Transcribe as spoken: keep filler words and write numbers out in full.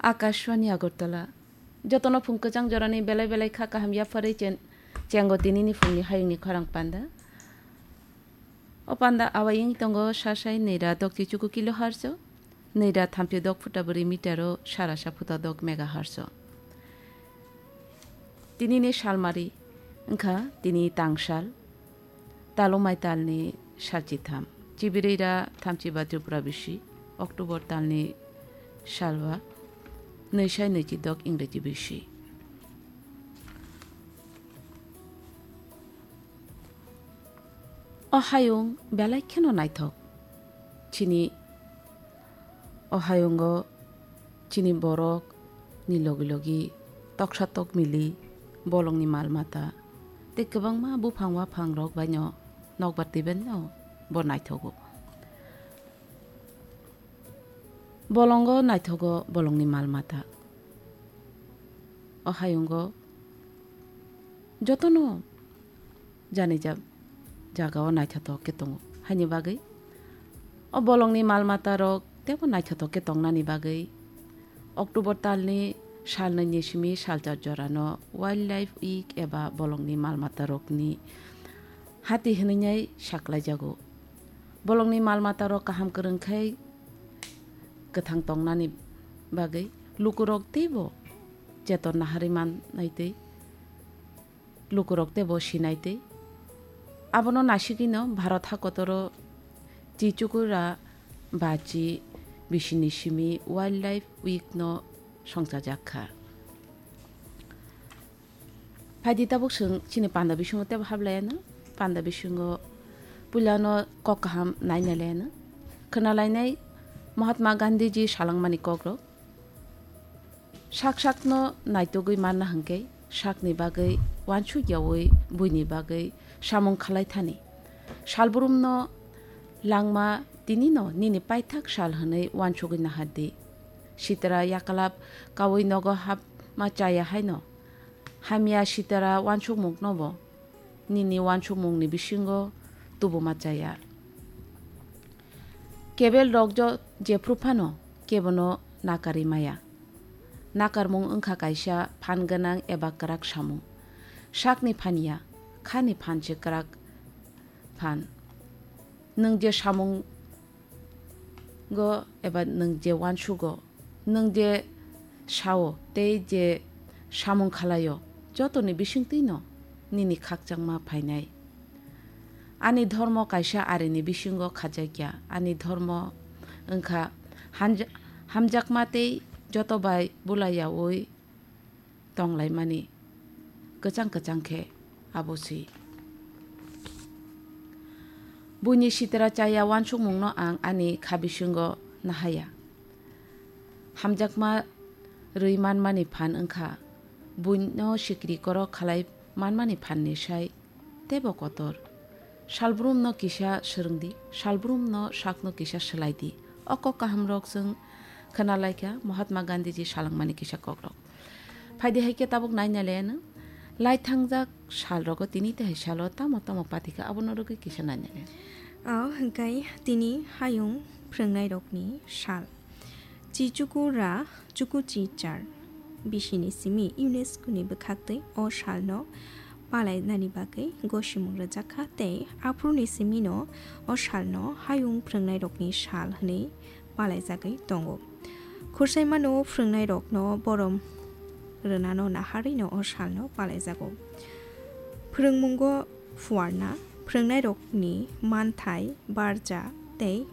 Akashvani Agartala. Jotono phung kwchang jorani belai belai kha kaham yapharwi chen-, chengo tinini phungni hayungni khorang panda. O panda awai wng tongo sasai nwi ra dok chichuku kilohertz o, nwi ra thamchi dok phuta bwrwi meter o, sara sa phuta dok megahertz o. Tinini salmari wngkha tini tangsal, talumai talni salchitham, chibirwi ra thamchi ba Tripura bisi, October talni salwa nwi sai nwi chi dok Ingreji bisi. O hayung belai kheno naithok. Chini o hayungo chini borok ni logi logi toksa tokmili, bolongni mal mata tei kwbangma buphang waphang rok baino nokbar twibaino bo naithogo. Bolongo naithogo bolongni mal mata. O hayungo jotono jani ja-, jagao naithotok khe tongo. Haini bagwi o bolongni mal mata rok teibo naithotok khe tongnani bagwi October talni salnwi ni simi salchar jorano Wildlife Week eba bolongni mal mata rokni hati hwnwi nai saklaijago. Bolongni mal mata rok kaham kwrwng khai kwthang tongnani bagwi lukurok teibo cheton naharwi mannai tei lukurok teibo sinai tei abono nasigwino Bharat hakotoro Chichukura bachi bisini simi Wildlife Week no songchajak kha. Phaidi tabuk chwng chini panda bisingo tebo hablaiano, panda bisingo puilano kok kaham nainailaino. Khwnalainai Mahatma Gandhiji salangmani kokrok. Sak sakno naitugwi manna hwnkhe sakni bagwi uansuk yaui buini bagwi samung khalai thani. Salbrumno langma tinino nini paithak sal hwnwi uansugwi nahardi. Sitra yakalap kaui nogo hapma chaya haino. Hamya sitra uansukmungnobo nini uansukmungni bisingo tubuma chaya. Kebel rok jo-, jephru phano kebono nakarwi maya. Nakarmung wngkha kaisa phan gwnang eba kwrak samung. Sakni phan ya, khani phan se kwrak phan. Nwng je samung go eba nwng je uansugo, nwng je sao tei je samung khalaio, jotoni bisingtwino nini khakchangma phainai. Ani dhormo kaisa arini bisingo khajakya. Ani dhormo wngkha hanja-, hamjakma tei joto bai bulayaui tonglaimani kwchang kwchang khe abo si. Buini sitra chaya uansukmungno ang ani kha bisingo nahaya. Hamjakma rwi manmani phan wngkha buino sikri korok khalai manmani phanni sai teibo kotor. Salbrumno kisa swrwngdi, salbrumno sakno kisa swlaidi. O kok kahamrok chwng khwnalaikha Mahatma Gandhiji salangmani kisa kokrok. Phaidi hai khe tabuk nainailaino. Lai thangjak salrogo tini tei hai salo tamo tamo patikha abono rwgwi kisa nainailaino. O hwnkhe tini hayung phrwngnairokni sal. Chichuku ra chuku chichar bisini simi UNESCO ni bwkhaktwi o salno palainani bagwi gosimung rwjakha tei aphuruni simino o salno hayung phrwngnairokni sal hwnwi palaijagwi tongo. Khursaimano phrwngnairokno borom rwnano naharwino o salno palaijago. Phrwngmungo phuarna, phrwngnairokni manthai, barja tei